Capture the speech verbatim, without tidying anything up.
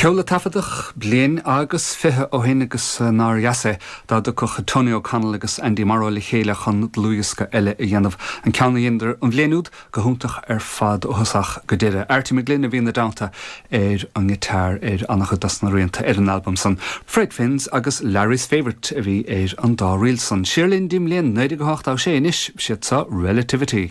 Ceol a taifeadadh bliain agus fiche ó shin agus nár dheas é dá dtiocfadh Tony O'Connell agus Andy Morrow le chéile chun dlúthdhiosca eile a dhéanamh. An ceann a dheineadar an bhliain úd go hiontach ar fad ó thosach go deireadh. Artie McGlynn a bhí ina dteannta ar an ngiotár ar an-chuid dos na rianta ar an albam san. Fred Fins agus Larry's Favourite a bhí ar an dá ríl san. Siar linn go dtí an bhliain naoi déag ochtó sé anois siad seo Relativity.